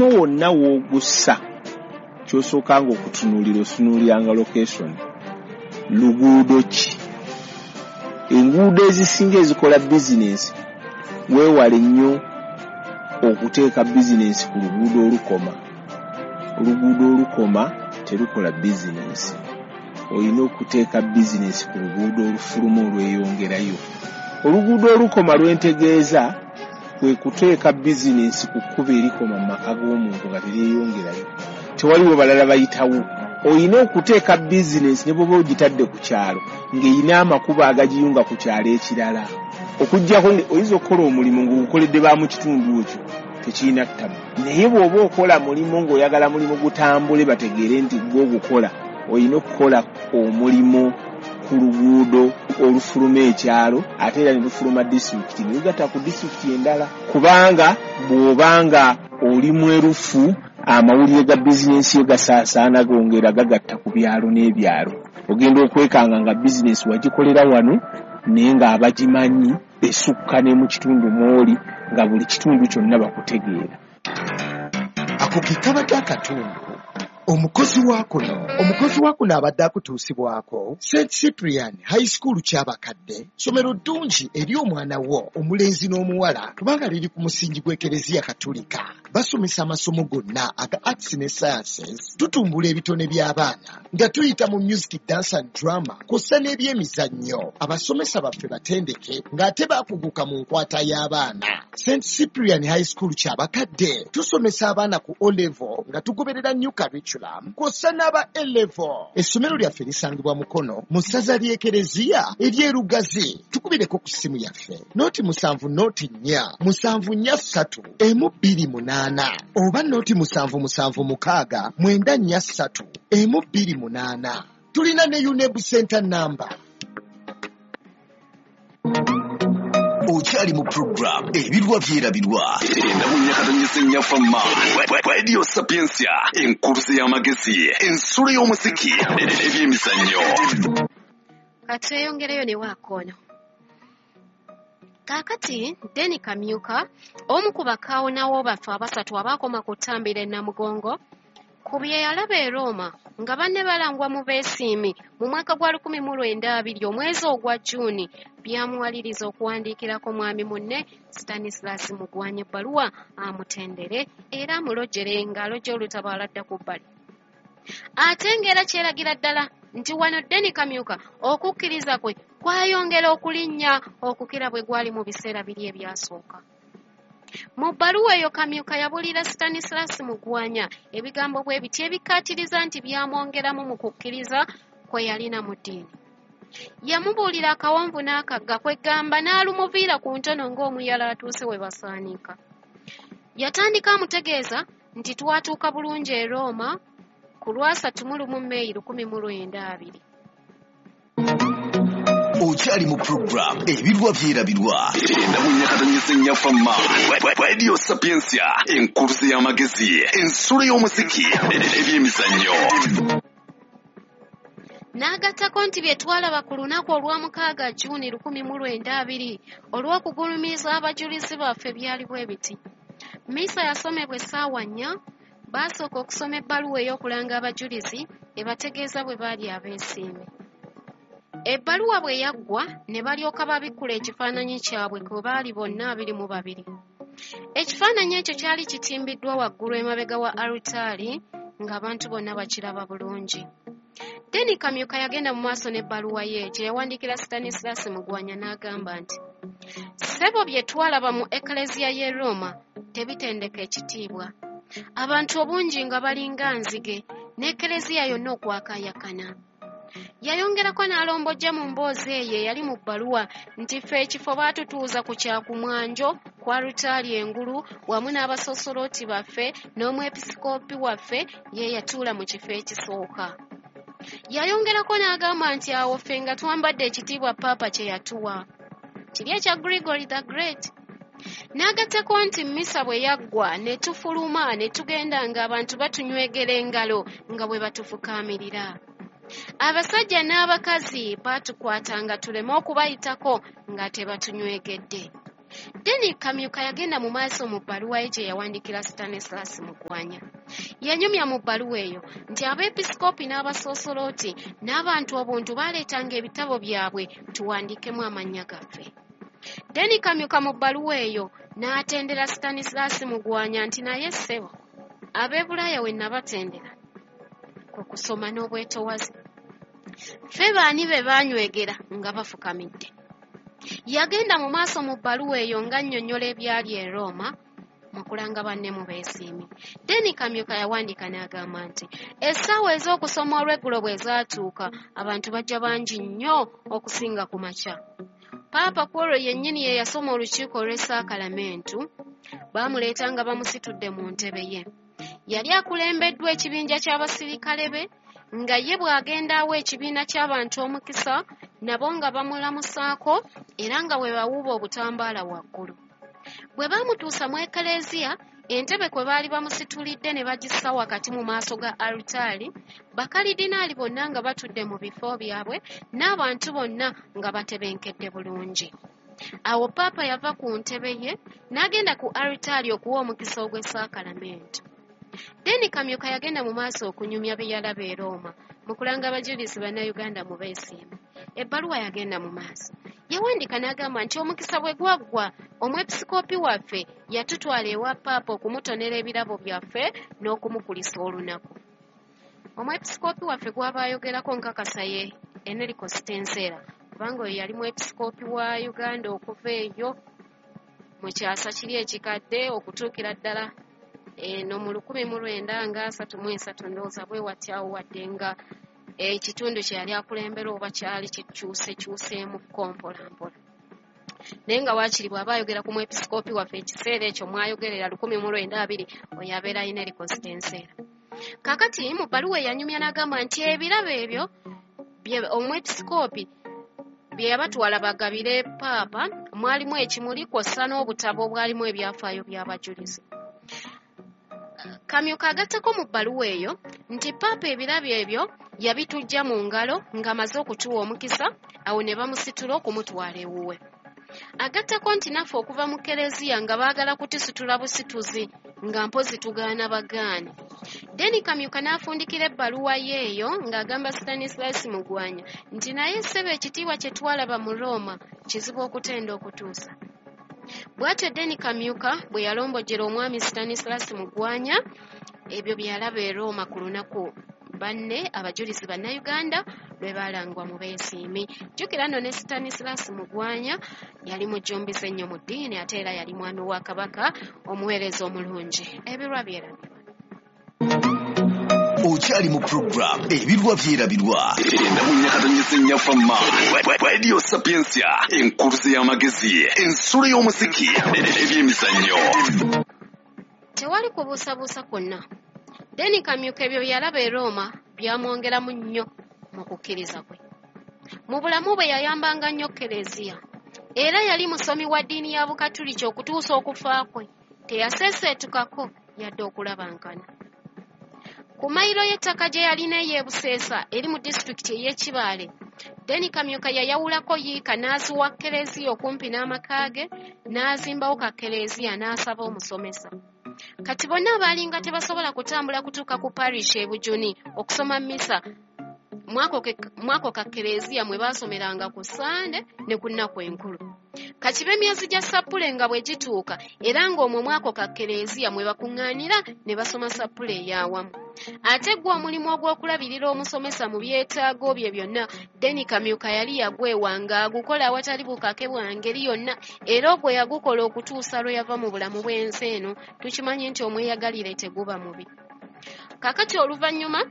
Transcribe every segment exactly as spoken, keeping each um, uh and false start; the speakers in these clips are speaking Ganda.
Omulimu wonna w'ogussa, ky'osookanga okutunuulira, otunuuliranga location. Luguudo ki? Enguudo ezisinga ezikola bizinensi, weewale nnyo okuteeka bizinensi ku luguudo olukoma. Oluguudo olukoma terukola bizinensi. Olina okuteeka bizinensi ku luguudo olufuluma olweyongerayo. Oluguudo olukoma lwentegeeza kwe kuteeka bizinensi ku kkubo erikoma mu maka g'omuntu nga teryeyongerayo, tewaliwo balala bayitawo. Olina okuteeka bizinensi ne bw'oba ogitadde ku kyalo ng'erina amakubo agagiyunga ku kyalo ekirala. Okuggyako oyinza okukola omulimu ng'ogukoledde ba mu kitundu ekyo, tekirina ttabu, naye bw'oba okola mulimu ng'oyagala mulimu gutambule bategeere nti gwe ogukola, olina okukola omulimu ku luguudo olufuluma ekyalo, ate era ne lufuluma disitulikiti ne lugatta ku disitulikiti endala. Kubanga bw'obanga oli mwerufu, amawulire ga bizinensi yo gasaasaana, gongera gagatta ku byalo n'ebyalo. Ogenda okwekanga nga bizinensi wagikolera wano, naye ng'abagimanyi esukka ne mu kitundu mw'oli, nga buli kitundu kyonna bakutegeera. Ako ke kabadde akatundu omukozi wa kuno. Omukozi wa kuno abadde akutuusibwako Saint Cyprian High School Kyabakadde, ssomero ddungi eri omwana wo omulenzi n'omuwala, kubanga liri ku musingi gw'Ekereziya Katulika. Basomesa amasomo gonna aga arts ne sciences. Tutumbula ebitone by'abaana nga tuyita mu music, dance and drama, kw'ossa n'ebyemizannyo. Abasomesa baffe batendeke ng'ate baakuguka mu nkwata y'abaana. Saint Cyprian High School Kyabakadde tusomesa abaana ku O level nga tugoberera new curriculum, kw'ossa n'aba A level. Essomero lyaffe lisangibwa Mukono, mu ssaza ly'Ekereziya ery'Erugazi. Tukubireko ku ssimu yaffe noti musanvu noti nnya musanvu nnya ssatu emu bbiri munaana oba noti musanvu musanvu mukaaga mwenda nnya ssatu emu bbiri munaana. Tulina ne UNEB center number. Okyali mu program Ebirwa Byerabirwa, endabunyakatonyesa ennyafama Radio Sapientia, enkuluze y'amagezi, ensulo y'omuziki n'ebyemizannyo. Katweyongereyo ne waakoono. Kaakati Deni Kamyuka, omu ku bakaawonawo baffe abasatu abaakoma ku ttambiro e Namugongo, ku bye yalaba e Roma nga banne balangwa mu beesiimi mu mwaka gwa lukumi mu lwenda abiri omwezi ogwa Jjuuni, byamuwaliriza okuwandiikirako mwami munne Stanislas Mugwanya ebbaluwa amutendere era amulojjere ng'alojja olutabo aladda ku bbali. Ate ng'era kyeragira ddala nti wano Deni Kamyuka okukkiriza kwe kwayongera okulinnya okukira bwe gwali mu biseera biri ebyasooka. Mu bbaluwa eyo Kamyuka yabuulira Stanislas Mugwanya ebigambo bwe biti ebikkaatiriza nti byamwongeramu mu kukkiriza kwe yalina mu ddiini. Yamubuulira akawonvu n'akagga, kwegamba n'alumuviira ku ntono ng'omuyala atuuse we basaaniika. Yatandika amutegeeza nti twatuuka bulungi e Roma ku lwasatu mu lumu Meeyi lukumi mu lwenda abiri. Okyali mu program Ebirwa Byerabirwa, endabunyakatonyesa ennyafama Radio Sapientia, enkuluze y'amagezi, ensulo y'omuziki n'ebyemizannyo. N'agattako nti bye twalaba ku lunaku olwamukaaga Jjuuni lukumi mu lwenda abiri olw'okugulumiza abajulizi baffe byali bwe biti. Misa yasomebwa essaawa nnya, baasooka okusoma ebbaluwa ey'okulanga abajulizi ebategeeza bwe baali abeesiimi. Ebbaluwa bwe yaggwa ne balyoka babikkula ekifaananyi kyabwe kwe baali bonna abiri mu babiri. Ekifaananyi ekyo kyali kitimbiddwa waggulu emabega wa alutaari ng'abantu bonna bakiraba bulungi. Deni Kamyuka yagenda mu maaso n'ebbaluwa ye gye yawandiikira Stanislas Mugwanya n'agamba nti ssebo bye twalaba mu Ekleziya y'e Roma tebitendeka ekitiibwa. Abantu obungi nga balinga nzige n'Ekleziya yonna okwakaayakana. Yayongerako n'alombojja mu mboozi eyo eyali mu bbaluwa nti ffe ekifo baatutuuza ku kyakumwanjo ku alutaari engulu wamu n'abasosolooti baffe n'omwepisikoopi waffe ye yatuula mu kifo ekisooka. Yayongerako n'agamba nti awo ffe nga twambadde ekitiibwa Paapa kye yatuwa, kiri ekya Gregory the Great. N'agattako nti mmisa bwe yaggwa ne tufuluma ne tugenda ng'abantu batunywegera engalo nga bwe batufukaamirira. Abasajja n'abakazi baatukwatanga tuleme okubayitako nga tebatunywekedde. Deni Kamyuka yagenda mu maaso mu bbaluwa ye gye yawandiikira Stanislas Mugwanya. Yanyumya mu bbaluwa eyo nti abeepisikoopi n'abasoosolooti n'abantu obuntu baaleetanga ebitabo byabwe tuwandiikemu amannya gaffe. Deni Kamyuka mu bbaluwa eyo n'atendera Stanislas Mugwanya nti naye ssebo ab'e Bulaaya we nabatendera ku kusoma n'obwetowaze. Ffe baani be baanywegera nga bafukamidde. Yagenda mu maaso mu bbaluwa eyo ng'annyonnyola ebyali e Roma mu kulanga banne mu beesiimi. Deni Kamyuka yawandiika n'agamba nti essaawa ez'okusoma olw'eggulo bwe zaatuuka abantu bajja bangi nnyo okusinga ku makya. Paapa ku olwo yennyini ye yasoma olukiiko olw'essaakalamentu, baamuleeta nga bamusitudde mu ntebe ye. Yali akulembeddwa ekibinja ky'abasirikale be nga ye bw'agenda awa ekibiina ky'abantu omukisa nabo nga bamulamusaako era nga bwe bawuuba obutambaala waggulu. Bwe baamutuusa mu ekereziya, entebe kwe baali bamusitulidde ne bagissa wakati mu maaso ga alutaali, bakalidinaali bonna nga batudde mu bifo byabwe n'abantu bonna nga batebenkedde bulungi. Awo Paapa yava ku ntebe ye n'agenda ku alutaali okuwa omukisa ogw'essaakalamentu. Deni Kamyuka yagenda mu maaso okunyumya bye yalaba e Roma mu kulanga abajulizi bannayuganda mu beesiimi. Ebbaluwa yagenda mu maaso. Yawandiika n'agamba nti omukisa bwe gwaggwa omwepisikoopi waffe yatutwala ewa Paapa okumutonera ebirabo byaffe n'okumukulisa olunaku. Omwepisikoopi waffe gw'aba ayogerako nkakasa ye Enrico Stenzera, kubanga oyo yali mwepisikoopi wa Uganda okuva eyo mu kyasa kiri ekikadde okutuukira ddala eno mu lukumi mu lwenda nga asatu mu esatu ndowooza bwe watyawo wadde nga ekitundu kye yali akulembera oba kyali kikyusekyuseemukko mpola mpola. Naye nga waakiri bw'aba ayogera ku mwepisikoopi waffe ekiseera ekyo mwayogerera lukumi mu lwenda abiri oyo abeera Enrico Stenzera. Kaakati mu bbaluwa eyanyumya n'agamba nti ebirabo ebyo omwepisikoopi bye yabatwala bagabire Paapa mwalimu ekimuli kw'ossa n'obutabo obwalimu ebyafaayo by'abajulizi. Kamyuka agattako mu bbaluwa eyo nti Paapa ebirabo ebyo yabitujja mu ngalo ng'amaze okutuwa omukisa awo ne bamusitula okumutwala ewuwe. Agattako nti naffe okuva mu kereziya nga baagala kutusitula busituzi nga mpozi tugaana bagaane. Deni Kamyuka n'afundikira ebbaluwa ye eyo ng'agamba Stanislas Mugwanya nti naye ssebo ekitiibwa kye twalaba mu Roma kizibu okutenda okutuusa. Bw'atyo Deni Kamyuka bwe yalombojjera omwami Stanislas Mugwanya ebyo bye yalaba e Roma ku lunaku banne abajulizi bannayuganda lwe baalangwa mu beesiimi. Jjukira nno ne Stanislas Mugwanya yali mujjumbize nnyo mu ddiini ate era yali mwami wa Kabaka omuweereza omulungi. Ebirwa byerabirwa. Okyali mu program Ebirwa Byerabirwa enda mu nyakatonyeze nnyafamma Radio Sapientia, enkuluze y'amagezi, ensulo y'omuziki, ebyemizannyo. Tewali kubuusabuusa kwonna. Deni Kamyuka ebyo bye yalaba e Roma byamwongeramu nnyo mu kukkiriza kwe. Mu bulamu bwe yayambanga nnyo kereziya. Era yali musomi wa ddiini ya Bukatuliki okutuusa okufa kwe. Teyaseeseetukako yadde okulabankana. Ku mayiro y'ettaka gye yalina ey'e Buseesa eri mu disitulikiti ey'e Kibaale, Deni Kamyuka yayawulako yiika n'aziwa kereziya okumpi n'amaka ge n'azimbawo ka kereziya n'asaba omusomesa. Kati bonna abaalinga tebasobola kutambula kutuuka ku parish e Bujuni okusoma mmisa mwako ka kereziya mwe baasomeranga ku Ssande ne ku nnaku enkulu. Kati b'emyezi gya Sappule nga bwe gituuka era ng'omwo mwako ka kereziya mwe bakuŋŋaanira ne basoma Sappule ey'awamu. Ate gwe omulimu ogw'okulabirira omusomesa mu byetaago bye byonna Deni Kamyuka yali yagwewa ng'agukola awatali bukake bwa ngeri yonna era ogwo yagukola okutuusa lwe yava mu bulamu bw'ensi eno. Tukimanyi nti omweyagalire teguba mubi. Kaakati oluvannyuma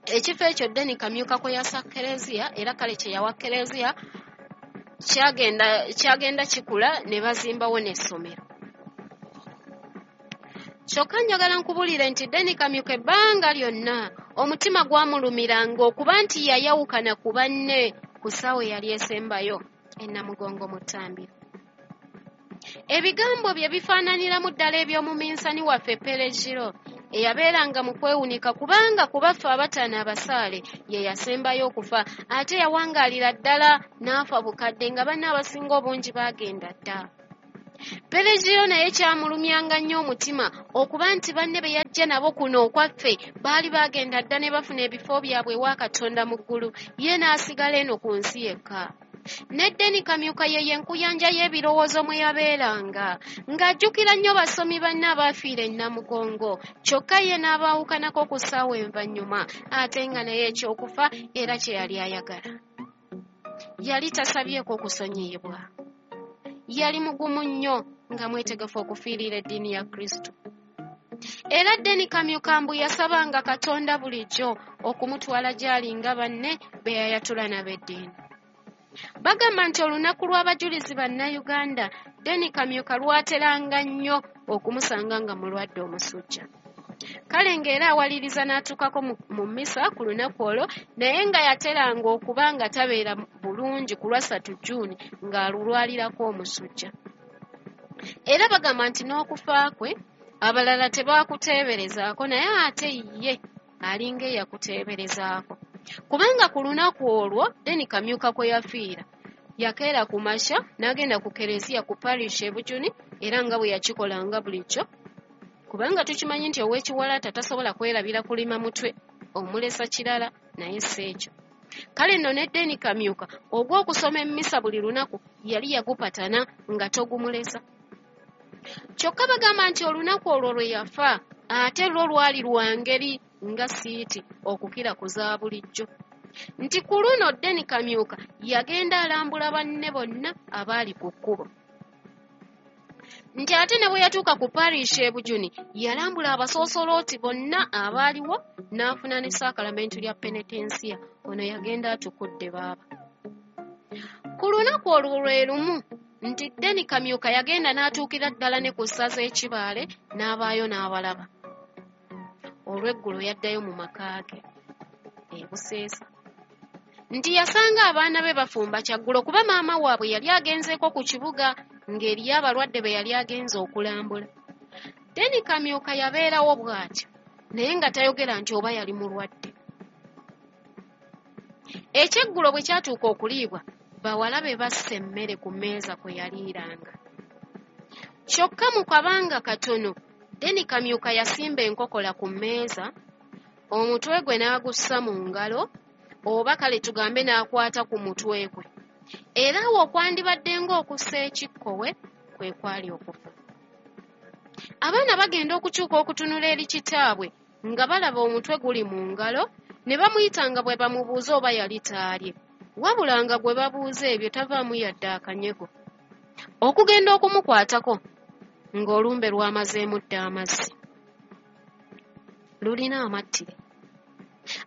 ekifo ekyo Deni Kamyuka kwe yassa kereziya era kale kye yawa kereziya kyagenda kyagenda kikula ne bazimbawo n'essomero. Kyokka njagala nkubuulire nti Deni Kamyuka ebbanga lyonna omutima gwamulumiranga okuba nti yayawukana ku banne ku ssaawa eyali esembayo e Namugongo mu ttambiro. Ebigambo bye bifaananiramu ddala eby'omuminsani waffe Peregiro eyabeeranga mu kwewunika kubanga ku baffe abataano abasaale ye yasembayo okufa ate yawangaalira ddala n'afa bukadde nga banne abasinga obungi baagenda dda. Pelegiyo naye kyamulumyanga nnyo omutima okuba nti banne be yajja nabo kuno okwaffe baali bagenda dda ne bafuna ebifo byabwe ewa Katonda mu ggulu, ye n'asigala eno ku nsi yekka. Ne Deni Kamyuka ye y'enkuyanja y'ebirowoozo mwe yabeeranga, ng'ajjukira nnyo basomi banne abaafiira e Namugongo, kyokka ye n'abaawukanako ku ssaawa envannyuma, ate nga naye ekyokufa era kye yali ayagala. Yali tasabyeko okusonyiyibwa. Yali mugumu nnyo nga mwetegefu okufiirira eddiini ya Kristo. Era Deni Kamyuka mbu yasabanga Katonda bulijjo okumutwala gy'ali nga banne be yayatula n'ab'eddiini. Bagamba nti olunaku lw'abajulizi bannayuganda Deni Kamyuka lwateranga nnyo okumusanga nga mulwadde omusujja. Kale ng'era awaliriza n'atuukako mu mmisa ku lunaku olwo, naye nga yateranga okuba nga tabeera bulungi ku lwa ssatu Jjuuni ng'alulwalirako omusujja. Era bagamba nti n'okufa kwe abalala tebaakuteeberezaako, naye ate ye alinga eyakuteeberezaako. Kubanga ku lunaku olwo Deni Kamyuka kwe yafiira, yakeera ku makya n'agenda ku kereziya ku parish e Bujuni, era nga bwe yakikolanga bulijjo. Kubanga tukimanyi nti ow'ekiwalaata tasobola kwerabira kulima mutwe omulesa kirala, naye si ekyo. Kale nno ne Deni Kamyuka ogw'okusoma emmisa buli lunaku yali yagupatana nga togumulesa. Kyokka bagamba nti olunaku olwo lwe yafa ate lwo lwali lwa ngeri nga siiti okukira ku za bulijjo. Nti ku luno Deni Kamyuka yagenda alambula banne bonna abaali ku kkubo. Nti ate ne bwe yatuuka ku parish e Bujuni yalambula abasoosolooti bonna abaaliwo n'afuna ne saakalamentu lya penetensiya. Ono yagenda atukudde baaba. Ku lunaku olwo lwe lumu nti Deni Kamyuka yagenda n'atuukira ddala ne ku ssaza e Kibaale n'abaayo n'abalaba. Olw'eggulo yaddayo mu maka ge e Buseesa. Nti yasanga abaana be bafumba kyaggulo kuba maama waabwe yali agenzeeko ku kibuga ng'eriyo abalwadde be yali agenze okulambula. Deni Kamyuka yabeerawo bw'atyo, naye nga tayogera nti oba yali mulwadde. Ekyeggulo bwe kyatuuka okuliibwa, bawala be bassa emmere ku mmeeza kwe yaliiranga. Kyokka mu kabanga katono, Deni Kamyuka yasimba enkokola ku mmeeza, omutwe gwe n'agussa mu ngalo, oba kale tugambe n'akwata ku mutwe gwe. Era awo okwandibadde ng'okussa ekikkowe kwe kwali okufa. Abaana bagenda okukyuka okutunula eri kitaabwe nga balaba omutwe guli mu ngalo, ne bamuyita nga bwe bamubuuza oba yali taalye. Wabula nga gwe babuuza ebyo tavaamu yadde akanyego. Okugenda okumukwatako ng'olumbe lwamazeemu dda amazzi. Lulina amattire.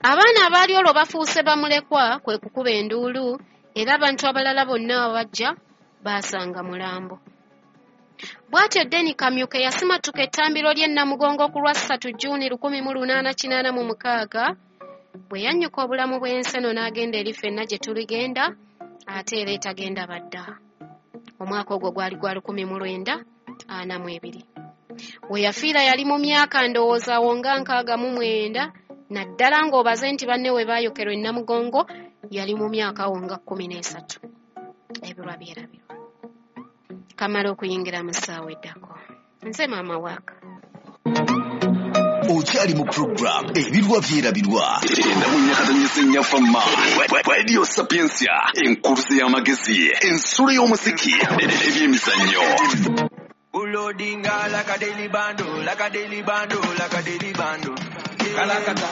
Abaana abaali olwo bafuuse bamulekwa kwe kukuba enduulu, era abantu abalala bonna abajja baasanga mulambo. Bw'atyo Deni Kamyuka yasimatuka ettambiro ly'e Namugongo ku lwa ssatu Jjuuni lukumi mu lunaana kinaana mu mukaaga, bwe yannyuka obulamu bw'ensi eno n'agenda eri ffenna gye tuligenda, ate era etagenda badda. Omwaka ogwo gwali gwa lukumi mu lwenda ana mu ebiri. We yafiira yali mu myaka ndowooza awo nga nkaaga mu mwenda, naddala ng'obaze nti banne we baayokerwa e Namugongo yali mu myaka awo nga kkumi n'esatu. Ebirwa byerabirwa. Kamala okuyingira mu ssaawa eddako. Nze maama waaka. Okyali mu program Ebirwa Byerabirwa. Enda mu nyakatanyisa ennyaffa ma. Radio Sapientia, enkuluze y'amagezi, ensulo y'omuziki, ebyemizannyo. Ulodinga like a daily bando, like a daily bando, like a daily bando. Kalakata.